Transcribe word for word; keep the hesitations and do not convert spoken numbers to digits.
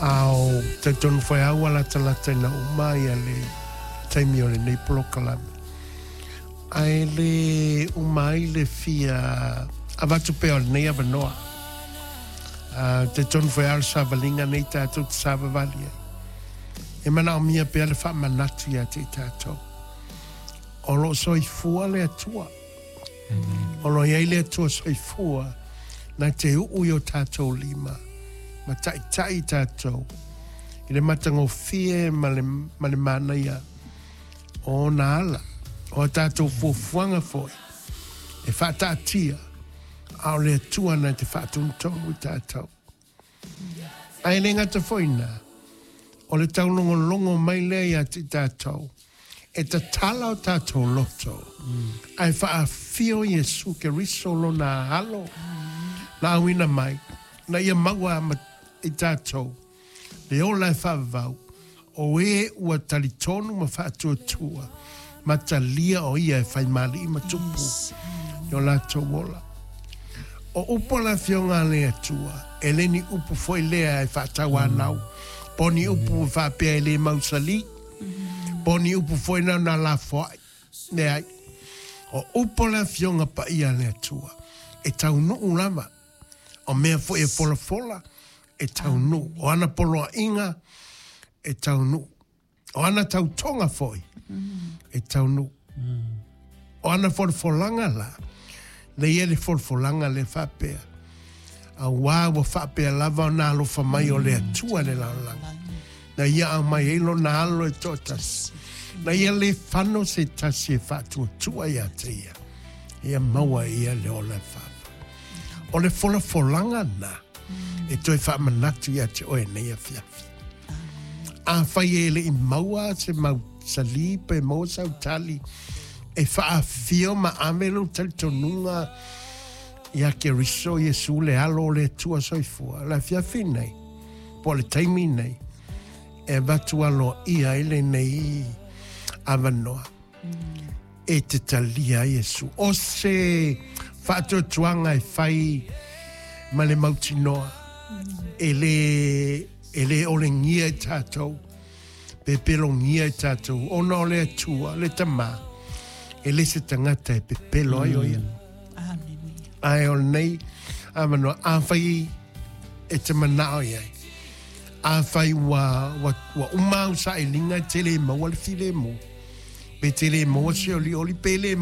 A o talitonu foi lava ua latalata ina uma ia le taimi o lenei polokalame. Ae le uma ai le fia avatu pea o lenei avanoa. Uh, talitonu foi lava o le savaliga nei tatou te savavali ai. E manaomia pea le faamanatu ia te i tatou. O lo o soifua le Atua. O lo o i ai le Atua soifua na te uu i o tatou lima ma taitai i tatou i le matagofie ma le, ma le manaia o ona ala. O a tatou fuafuaga foi e faataatia, a o le Atua na te faatonutonu i tatou. Ae le gata foi i na, o le taulogologo mai lea ia te i tatou, e tatala o tatou loto, ae faaafio Iesu Keriso lona alo, na auina mai, na ia maua ma i tatou, le ola e faavavau, o e ua talitonu ma faatuatua, ma talia o ia e faimali'i ma tupu, i o latou ola. O upu a le Afioga a le Atua, e le ni upu foi lea e faatauanau, po o ni upu e faapea e le mausali, po o ni upu foi na ona lafoai. Leai. O upu a le Afioga Paia a le Atua, e taunuu lava. O mea foi e folafola, e taunuu. O ana poloaiga, e taunuu. O ana tautoga foi, e taunuu. O ana folafolaga la, lea e i ai le folafolaga lea faapea, auā ua faapea lava ona alofa mai o le Atua i le lalolagi, na ia aumai ai lona Alo e toatasi, na ia le fano se tasi e faatuatua ia te ia, ia maua e ia le ola e faavavau. O le folafolaga na e toe faamanatu ia te oe nei afiafi. Afai e le i maua se mau sali pe maua sau tali e faafio ma ave lou talitonuga ia Keriso Iesu le Alo o le Atua soifua, le afiafi nei, po o le taimi nei, e avatu aloaia ai lenei avanoa e te talia ai Iesu. O se faatuatuaga e fai ma le mautinoa, e le, e le olegia i tatou, pepelogia i tatou, ona o le Atua, le Tama, e le se tagata e pepelo ai o ia. Ae o lenei avanoa, afai e te manao i ai, afai ua, ua, ua uma au sailiga e te le maua le filemu, pe te le maua se olioli, pe le